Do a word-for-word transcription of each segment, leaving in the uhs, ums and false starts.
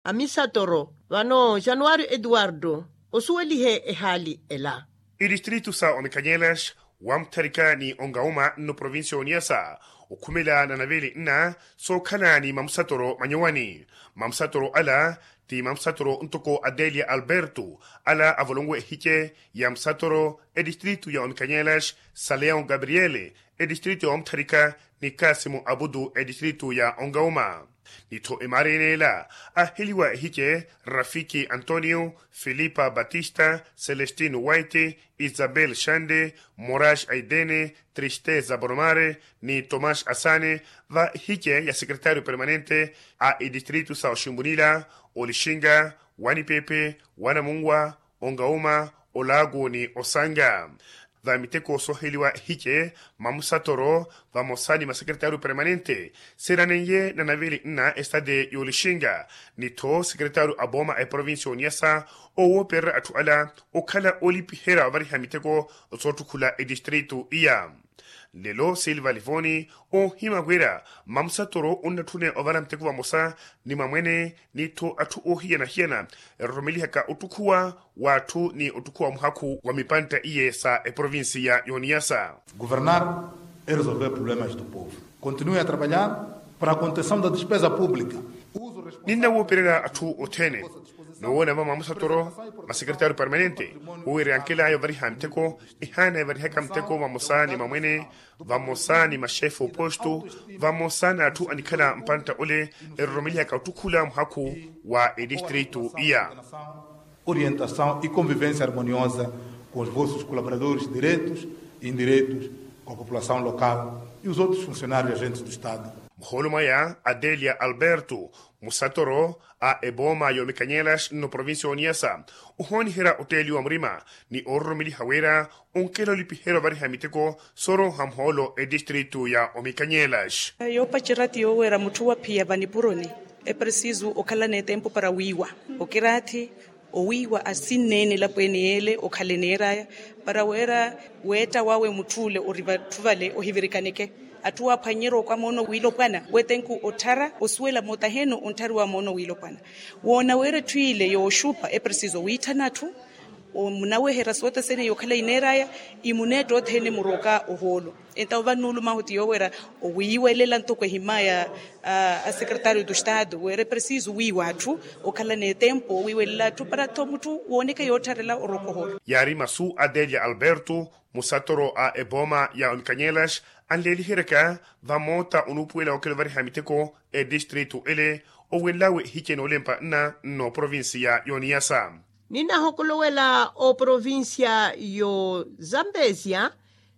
Amisatoro vano januwari eduwardo osuwelihe ehaali ela. Itistritu sa omikanyelas wamutharika ni ongauma nno provincia oniyasa okhumela na navili nna sookhala ni mamusatoro manyowani. Mamusatoro ala ti mamusatoro ntoko adelia alberto ala avolonwe ehice ya musatoro etistritu ya omikanyelas saleon gabriele etistritu ya omutharika ni kasimu abudu etistritu ya ongauma. Nitho emaari enela aheliwa ehice rafiki antonio, filipa batista, celestino waite, isabel shande, morash aidene, tristeza boromare, ni tomash asane va ehice ya sekretario permanente a itistritu sa oshimbunila, olixinga, wanipepe, wanamunwa, ongauma, olaku ni osanga. Va miteko sooheliwa ehice mamusatoro vamosa ni masekretario permanente seeranenye na navili nna estade y'olixinga. Nitho sekretario a booma a eprovincia oniyasa owoopererya atthu ala okhala olipiherya ovariha miteko soottukhula etistritu iya. Nlelo silva livoni oohimya wira mamusatoro onnatthune ovara miteko vamosa ni mamwene nitho atthu oohiyana-hiyana eroromelihaka ottukhuwa w'atthu ni ottukhuwa muhakhu wa mipantta iye sa eprovincia y'oniyasa. Governar e resolver problemas do povo. Continue a trabalhar para a contenção da despesa publica. Ninna woopererya atthu othene noowoona va mamusatoro masekretario permanente woowerya nkelaya ovariha miteko ehaana evarihaka miteko vamosa ni mamwene vamosa ni maxefe oposto vamosa n'atthu anikhala mpantta ole eroromelihaka ottukhula muhakhu wa etistritu iya. Orientação e convivência harmoniosa com os vossos colaboradores diretos e indiretos, com a população local e os outros funcionários agentes do estado. Muhoolo mwaya adelia alberto musatoro a ebooma y'omikanyelas nno provincia oniyasa ohooniherya otteeliwa murima ni oororomeliha wira onkela olipiherya ovariha miteko sooroha muhoolo etistritu ya omikanyelas. Yoopacerya ti yoowerya mutthu waphiya vanipuroni epresisu okhala n'etempu para wiiwa okiraathi owiiwa asinneene elapweene yeele okhale neeraya para weera weetta wawe mutthu ole ori vatthu vale ohivirikaneke atthu waaphwanyerya okwa moono wiilopwana wetenku otthara osuwela moota heeno ontthariwa moono wiilopwana woona weera etthu ile yooxupa epresiso wiitthana atthu omunaweherya soota sene yookhala ineeraya imuneetta othene muroka ohoolo entawo vannuulumahu ti yoowerya owiiwelela ntoko ehimaya a sekretario do estado weera epresiso wiiwa atthu okhala n'etempu owiiwelela atthu para tho mutthu wooneke yoottharela oroka ohoolo. Yaari masu a delia alberto musatoro a ebooma ya omikanyelas anleeliheryaka vamoota onuupuwela okela ovariha miteko etistritu ele owenlawe ehice noolempa nna nno provincia y'oniyasa. Ninnahokolowela oprovincia y'ozambesia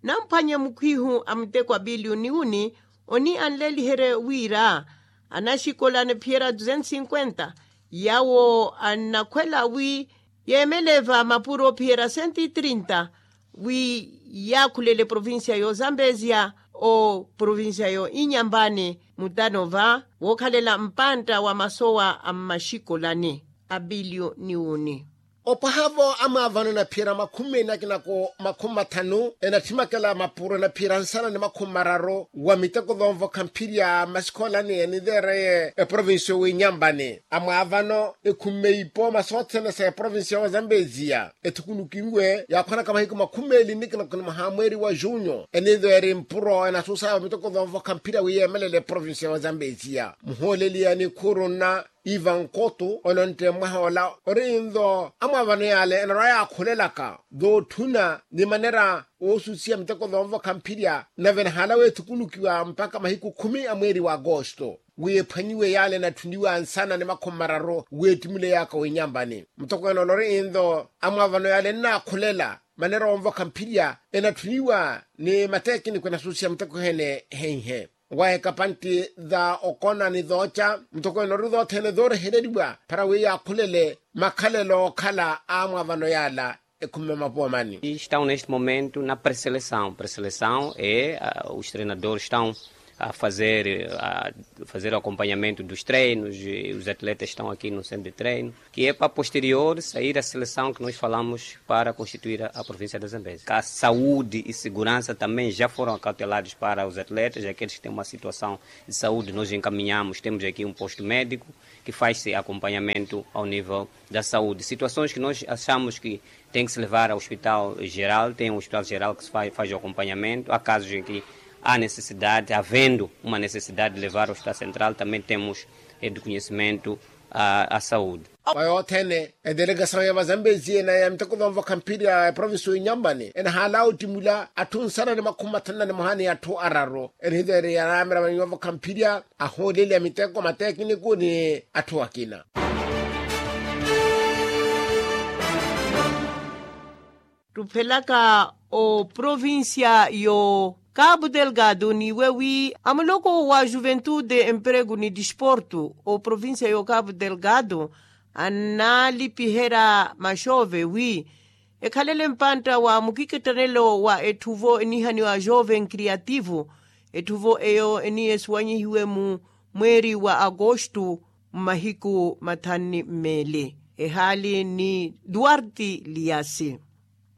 namphwanye mukhwihu a muteko a pilioni uni oni anleeliherye wira anaxikolane phiyera duzentos cinquenta yawo annakhwela wi yeemeleva mapuro phiyera cento e trinta wi yaakhulele provincia y'ozambesia o provincia yo inyambani mutano va wookhalela mpantta wa masowa a mmaxikolani a pilioni uni. Opwaha-vo amwaavano enaphiyerya makhumi meli na kinako makhumi mathanu enathimakela mapuro enaphiyerya nsana ni makhumi mararu wa miteko thoonvokha mphirya mmaxikoolani eniveereye eprovincia owinyambani amwaavano ekhumeipo masothene sa eprovincia wa zambesia ethukunukinwe yaakhwanaka mahiku makhumi meli ni kinako ni mwaha mweeri wa junyo eniveeri mpuro enasuusaya va miteko thoonvokha mphirya wi yeemelele eprovincia wa zambesia muhooleli ya nikhuru nna iva nkotu onontte mwaha ola ori nto amwaavano yaale enarwa yaakhulelaka thootthuna ni manera oosusiya miteko thoonvokha mphirya nave enahaala weethukunukiwa mpakha mahiku khumi a mweeri wa agosto wi ephwanyiwe yaale enatthuniwa nsana ni makhumi mararu weettimuleyaka winyambani mutokweene ola ori nto amwaavano yaale ennaakhulela manera onvokha mphirya enatthuniwa ni matekiniko enasusiya miteko ehene heihe waaheka pantti tha okona ni thooca mutokweene ori thoothene thoorehereriwa para wi yaakhulele makhalelo ookhala a amwaavano yaala ekhumi mamapoomani. Estão neste momento na preseleção preseleção e os treinadores estão A fazer a fazer o acompanhamento dos treinos, os atletas estão aqui no centro de treino, que é para posterior sair a seleção que nós falamos para constituir a província da Zambésia. A saúde e segurança também já foram acautelados para os atletas, aqueles que têm uma situação de saúde nós encaminhamos, temos aqui um posto médico que faz-se acompanhamento ao nível da saúde. Situações que nós achamos que tem que se levar ao hospital geral, tem um hospital geral que se faz, faz o acompanhamento. Há casos em que há necessidade, havendo uma necessidade de levar ao hospital central, também temos eh, de conhecimento à, à saúde. Wa yothene edelegasawu ya vazambezi ena ya miteko vamvokha mphiri ya eprovinsi wa inyampani enahaala ottimula atthu nsana ni makhumi mathanu na nimoha ni atthu araru. Enihitere yanaamira vanyu vamvokha mphiri ya ahooleli a miteko matekiniku ni atthu akina. Tuphelaka oprovincia yo cabo delgado niwe wi amuloko wa juventude emprego ni disporto oprovincia yo cabo delgado annalipiherya maxove wi ekhalele mpantta wa mukikittanelo wa etthuvo enihaniwa jove nkriativo. Etthuvo eyo eniyesuwanyihiwe mu mweeri wa agosto mmahiku mathanu ni mmeeli. Ehaali ni duarte liasi.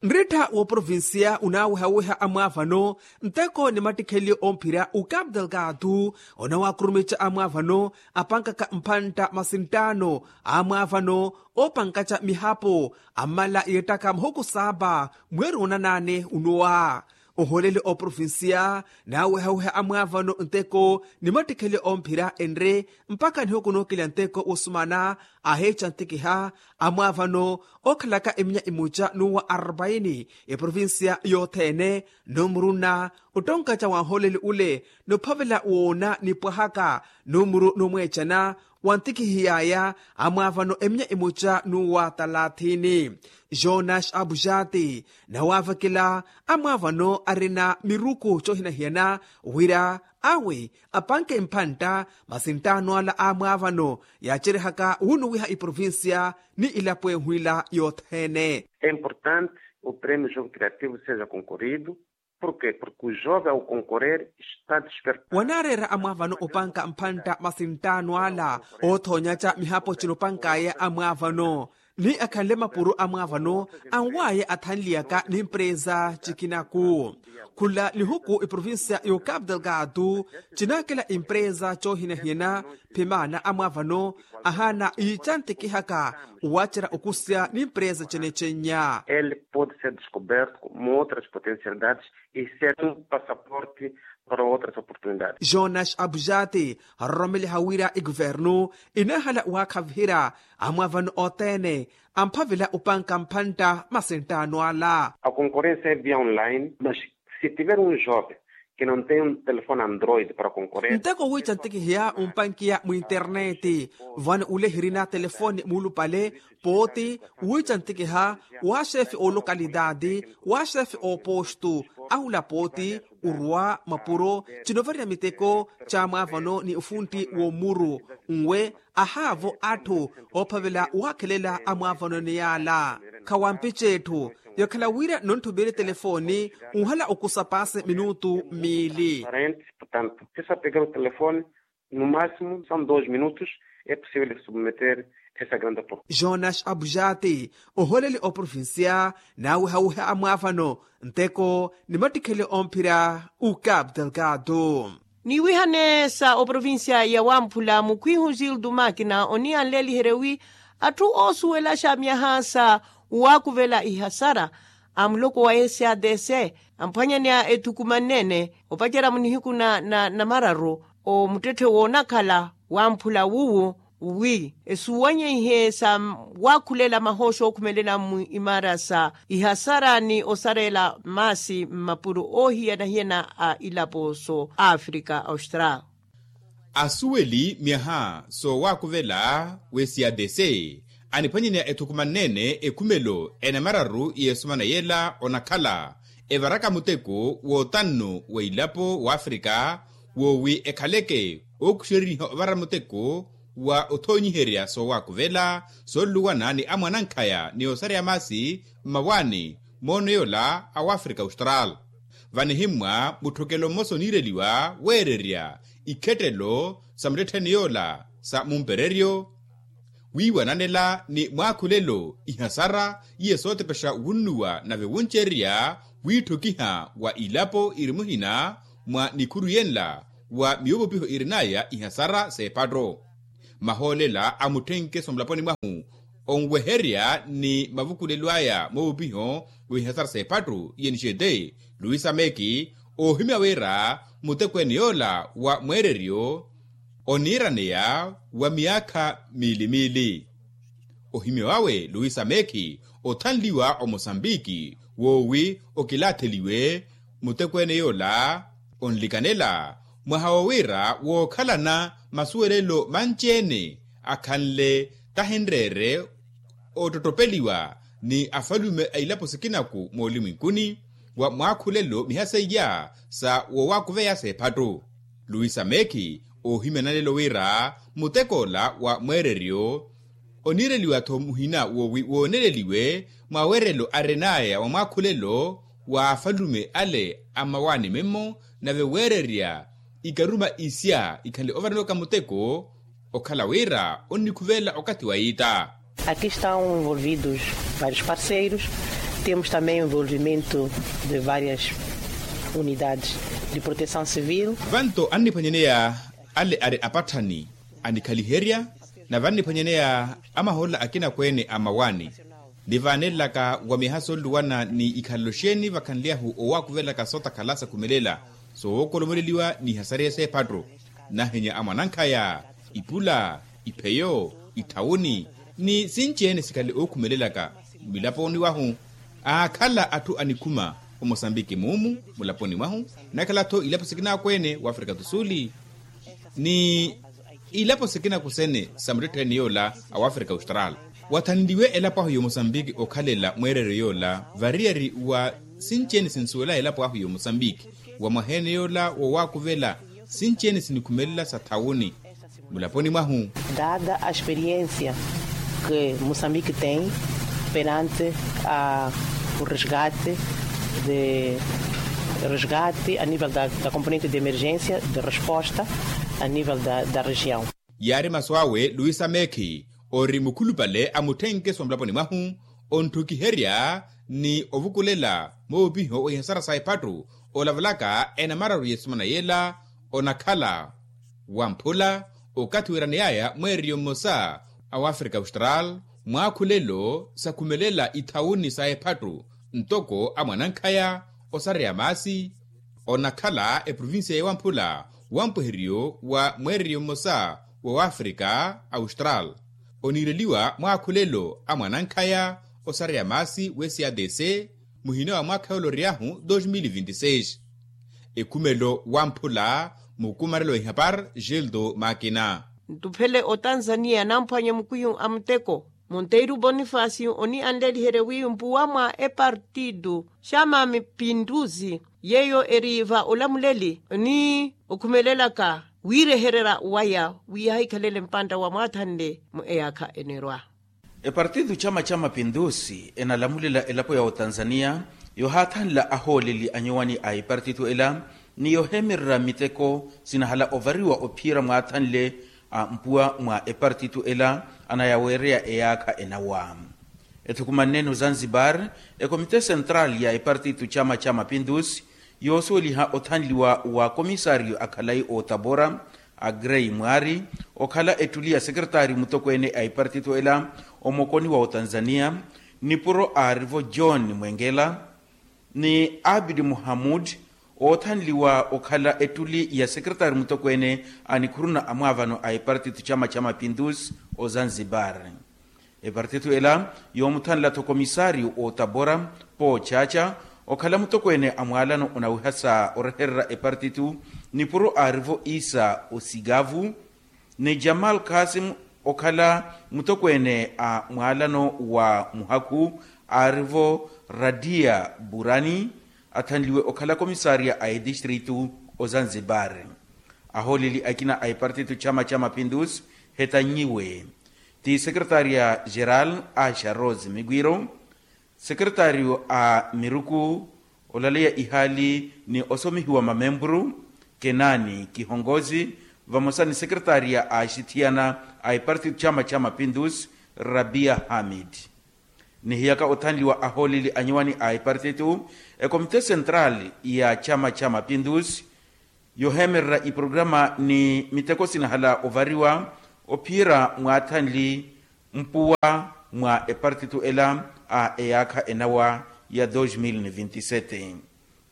Nrittha w'oprovincia unaawihawiha amwaavano nteko ni mattikheli omphira ucabo delgado onawaakurumica amwaavano apankaka mphantta masi nttaano amwaavano oopankaca mihapo ammala yeettaka mahuku saapa mweeri onanaane unowa. Ohooleli oprovincia naawihawiha amwaavano nteko ni mattikheli omphira enre mpakha nihuku nookilya nteko wosumana aheeca ntikiha amwaavano ookhalaka eminya imoca n'uwa arpaini eprovincia yothene. Numuru nna ottonkaca wa nhooleli ule nophavela woona nipwahaka numuru numweecana wa ntikihiy'aya amwaavano eminya imoca n'uwa talathini. Jonas abujati nawaavekela amwaavano arina miruku coohinahiyana wira awe apanke mphantta masi nttaano ala amwaavano yaacerihaka wunuwiha iprovincia ni ilapo ehwila yothene. É importante o prémio jogo criativo seja concorrido. Porquê porke o jove ao concorrer está despertando. Wanaareera amwaavano opanka mphantta masi nttaano ala oothoonyaca mihapo cinopank'aya amwaavano ni akhanle mapuro amwaavano anw'aya athanliyaka n'impresa cikinaku. Khula nihuku iprovincia y'ocapo delgado cinaakela impresa coohinahiyana. Phimaana amwaavano ahaana iica ntikihaka owacerya okusya n'impresa ecenecennya. Ele pode ser descoberto como outras potencialidades e ser um passaporte para outras oportunidades. Jonas abujati aroromeleha wira ikuvernu inaahala waakhaviherya amwaavano othene amphavela opanka mphantta masi nttaano ala. A concorrência é via online mas se tiver um jovem que não tem um telefone android para concorrer. Nteko wiica ntikiheya ompankiya mwinterneti vano ule hirina telefone muulupale pooti wiica ntikiha wa xefe oolokalitaati wa xefe oopostu ahula pooti orwa mapuro cinovarya miteko ca mwaavano ni ofuntti w'omuru nwe ahaavo atthu oophavela waakhelela amwaavanoni yaala. Khawampice etthu yakhala wira nontthuvire telefoni nhala okusa paasi minutu miili. Parente portanto se sa pegar o telefone no máximo são dois minutos é possível de submeter essa grande aporte. Jonas abujati ohooleli oprovincia naawihawiha amwaavano nteko ni mattikheli omphira ucabo delgado. Niiwihane sa oprovincia ya wamphula mukhwihu gildo makina oniyanleliherye wi atthu oosuwelaxa myaha sa waakuvela ihasara a muloko wa sadc amphwanyaneya ethukumanene opacerya munihiku na namararu omuttetthe woonakhala wamphula wuwo wi esuwanyeihe sa waakhulela mahooxa ookhumelela mu imara sa ihasara ni osarela maasi mmapuro oohiyana-hiyana a ilapo so afrika austral. Asuweli myaha soowaakuvela w'esadc aniphwanyaneya ethukumanene ekhumelo enamararu y'esumana yeela onakhala evaraka muteko w'otannu wa ilapo w'afrika woowi ekhaleke ookuxeriniha ovara muteko wa othoonyiherya soowaakuvela sooluwana ni amwanankhaya ni osareya maasi mmawaani moono yoola a wafrika austral. Vanihimmwa mutthokelo mmosa oniireliwa weererya ikhettelo sa muttettheni yoola sa mumpereryo, wiiwananela ni mwaakhulelo ihasara iye sootepexa wunnuwa nave wuncererya wiitthokiha wa ilapo iri muhina mwa nikhuru yenla wa miyovopiho irin'aya ihasara s'ephatto. Mahoolela a mutthenkeso mulaponi mwahu onweherya ni mavukulelo aya moovopiho wa ihasara s'ephatto iye nixete luisa meki, oohimya wira mutekweene yoola wa mweereryo oniiraneya wa miyaakha miili-miili. Ohimya wawe luisa meki othanliwa omosambiki woowi okilaatheliwe mutekweene yoola onlikanela mwaha wo wira wookhalana masuwelelo manci-ene akhanle tahinreere oottottopeliwa ni afalume a ilapo sikinaku moolimwinkuni wa mwaakhulelo miha seiya sa woowakuveya s'ephatto. Luisa meki oohimya nanelo wira mutekoola wa mweereryo oniireliwa-tho muhina woowi wooneleliwe mwaweerelo arin'aya wa mwaakhulelo wa afalume ale a mmawaani mimmo nave weererya ikaruma isya ikhanle ovaranewaka muteko okhala wira onnikhuvela okathi wa iita. Aqui estão envolvidos vários parceiros, temos também envolvimento de várias unidades de proteção civil. Vanto anniphwanyaneya ale ari apatthani anikhaliherya nave anniphwanyaneya amahoolela akinakweene a mmawaani. Nivaanelelaka wa miyaha sooluwana ni ikhalelo xeeni vakhanly'ahu owakuvelaka sootakhala sakhumelela soowokolomoleliwa n'ihasariya s'ephatto, nahenya a mwanankhaya, ipula, ipheyo, itthawuni ni sinci-ene sikhale ookhumelelaka milaponi wahu. Aakhala atthu anikhuma omosambiki muumu mulaponi mwahu, nakhala-tho ilapo sikinakweene w'afrika tu suli ni ilapo sikinaku sene sa muttettheni yoola a wafrika austral. Wathanliwe elapo ahu y'omosambiki okhalela mweereryo yoola variyari wa sinci-ene sinsuwela elapo ahu y'omosambiki wa mwaha-ene yoola wowaakuvela sinci-ene sinikhumelela sa thawuni mulaponi mwahu. Dada a experiência que Moçambique tem perante a o resgate de resgate a nível da componente de emergência de resposta a nível da região. Yaari masu awe luisa meki ori mukhulupale a mutthenkeso wa mulaponi mwahu, ontthukiherya ni ovukulela moopiho wa ihasara sa ephattu olavalaka enamararu y'esimana yela onakhala wamphula okathi wiiraneyaya mweereriyo mmosa a wafrika austral mwaakhulelo sakhumelela ithawuni sa ephattu ntoko a mwanankhaya osareya maasi onakhala eprovincia ya wamphula wampweheriyo wa mweereriyo mmosa wa wafrika austral oniireliwa mwaakhulelo a mwanankhaya osareya maasi w'esadc muhina wa mwaakha yoolory'ahu dos mil vinti seis. Ekhumelo wamphula mukumarelo wa ihapar gildo makina. Ntuphele otanzania namphwanya mukwiyu a muteko monteiru bonifasi onianleliherye wi mpuwa mwa epartidu xama mipinduzi yeyo eri va olamuleli ni okhumelelaka wiirehererya waya wi yahikhalele mpantta wa mwaathanle mu eyaakha enerwa. Epartitu chama cha mapindusi enalamulela elapo ya otanzania yohaathanla ahooleli anyuwani a epartitu ela ni yoheemererya miteko sinahala ovariwa ophiira mwaathanle a mpuwa mwa epartitu ela anayaweereya eyaakha enawa. Ethukumanne-ene ozanzibar ekomite central ya epartitu chama cha mapindusi yoosuweliha othanliwa wa komisariyo a khalayi otabora a grey mwaari okhala ettuli ya sekeretari mutokweene a epartitu ela omokoni wa otanzania nipuro aarivo john mwengela ni abidi muhamud oothanliwa okhala ettuli ya sekeretari mutokweene a nikhuruna a mwaavano a epartitu chama cha mapindusi ozanzibar. Epartitu ela yoomuthanla-tho komisariyo otabora poochacha okhala mutokweene a mwaalano onawiha sa orehererya epartitu nipuro aarivo isa osigavu ni jamal kasim okhala mutokweene a mwaalano wa muhakhu aarivo radia burani athanliwe okhala komisariya a etistritu ozanzibar. Ahooleli akina a epartitu chama cha mapindusi hetannyiwe ti sekeretariya geral asha rose migwiro sekeretariyo a miruku olaleya ihaali ni osomihiwa mamempuru, kenaani kihonkosi vamosa ni sekretaariya a axithiyana a epartito chama cha mapindusi, rabia hamid. Nihiyaka othanliwa ahooleli anyuwani a epartito, ekomite sentrali ya chama cha mapindusi yoheemererya iprograma ni miteko sinahala ovariwa ophiyerya mwaathanli mpuwa mwa epartito ela a eyaakha enawa ya dos mil ni vinti sete.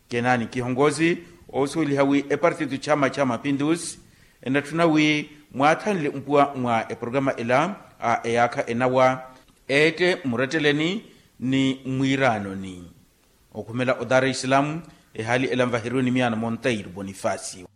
Kenaani kihonkosi oosuweliha wi epartito chama cha mapindusi enatthuna wi mwaathanle mpuwa mwa eprograma ela a eyaakha enawa eette mmuretteleni ni mwiiraanoni. Okhumela odara isilamu ehaali ela nvaheriwe ni miyaana monteiro bonifasio.